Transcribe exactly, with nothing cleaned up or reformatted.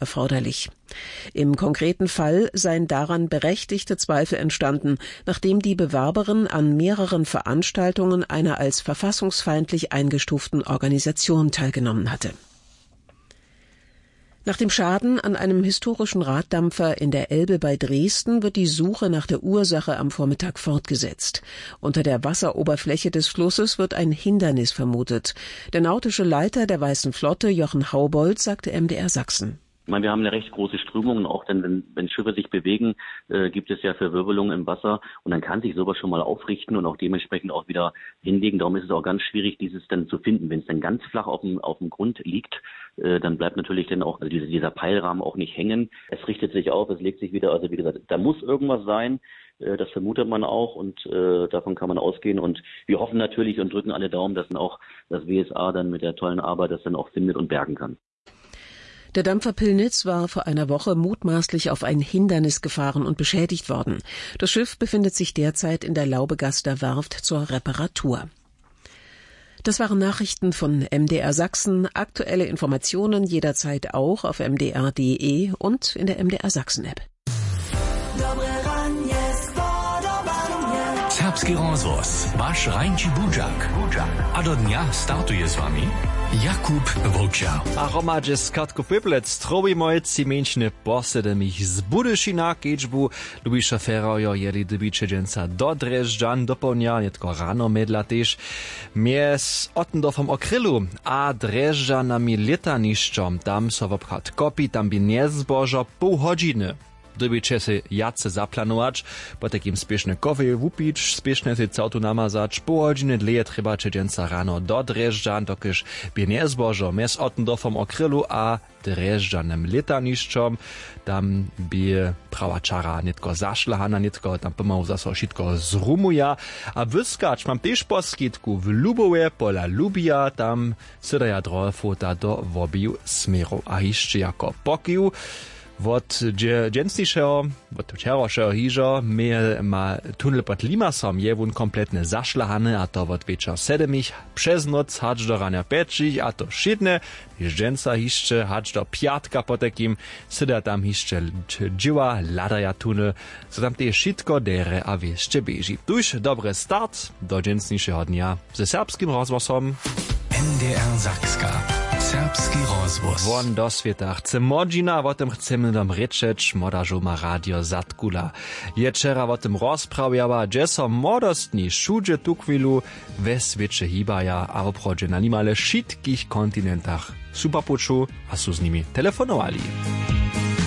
erforderlich. Im konkreten Fall seien daran berechtigte Zweifel entstanden, nachdem die Bewerberin an mehreren Veranstaltungen eine als verfassungsfeindlich eingestuften Organisation teilgenommen hatte. Nach dem Schaden an einem historischen Raddampfer in der Elbe bei Dresden wird die Suche nach der Ursache am Vormittag fortgesetzt. Unter der Wasseroberfläche des Flusses wird ein Hindernis vermutet. Der nautische Leiter der Weißen Flotte, Jochen Haubold, sagte M D R Sachsen. Ich meine, wir haben eine recht große Strömung und auch dann, wenn, wenn Schiffe sich bewegen, äh, gibt es ja Verwirbelungen im Wasser und dann kann sich sowas schon mal aufrichten und auch dementsprechend auch wieder hinlegen. Darum ist es auch ganz schwierig, dieses dann zu finden. Wenn es dann ganz flach auf dem, auf dem Grund liegt, äh, dann bleibt natürlich dann auch, also dieser, dieser Peilrahmen auch nicht hängen. Es richtet sich auf, es legt sich wieder. Also wie gesagt, da muss irgendwas sein. Äh, das vermutet man auch und äh, davon kann man ausgehen. Und wir hoffen natürlich und drücken alle Daumen, dass dann auch das W S A dann mit der tollen Arbeit das dann auch findet und bergen kann. Der Dampfer Pillnitz war vor einer Woche mutmaßlich auf ein Hindernis gefahren und beschädigt worden. Das Schiff befindet sich derzeit in der Laubegaster Werft zur Reparatur. Das waren Nachrichten von M D R Sachsen. Aktuelle Informationen jederzeit auch auf M D R Punkt D E und in der M D R Sachsen App. Serbski rozhłos, waš rańči budźak. A do dnja startuje z wami Jakub Wowčer. A hromadźe z Kartku Pěplec strowimoj tři mjeńšiny po sedemich z Budyšina kedźbu Lubiša Ferrerjo jeli dybiće dźensa do Drježdźan dopołdnja, nětko rano mjedla tež mjez Ottendorfom o Krylu a Drježdźanami lětanišćom. Tam so wobchad kopi, tam bě njezbožo poł hodźiny. Dyrbiće sej wjace zaplanować, potajkim spěšnje kofej wupić, spěšnje sej całtu namazać, poł hodźiny dlěje trjebaće dźensa rano do Drježdźan, dokelž bě njezbožo mjez Ottendorfom o Krylu a Drježdźanym lětanišćom. Tam bě prawa čara nětko zašlahana, nětko tam pomału zaso wšitko zrumuja. A wyskać mam tež po skitku w Lubowje pola Lubija, tam sydaja drohe fota do wobiju směrow. A hišće jako pokiw wot dźe-, dźensnišeho, wot wčerawšeho hižo, mje-, ma tunel pod Limasom je wón kompletnje zašlahany, a to wot wječor sedemich přez noc hač do ranja pjećich, a to wšědnje, hiž dźensa hišće hač do pjatka potajkim syda tam hišće dź-, dźěła, hladaja tunel, zo tam tež wšitko derje a wěsće běži. Tuž dobry start do dźensnišeho dnja ze Serbskim rozhłosom. N D R Sakska. Serbski rozhłos. Won do swěta chce młodźina, wo tym chcemy dom rěčeć, młoda žołma radio Zadkula je wčera wo tym rozprawjała, hdźe so młodostni wšudźe tuchwilu we swěće hibaja a woprawdźe na nimale wšitkich kontinentach su po puću a su z nimi telefonowali.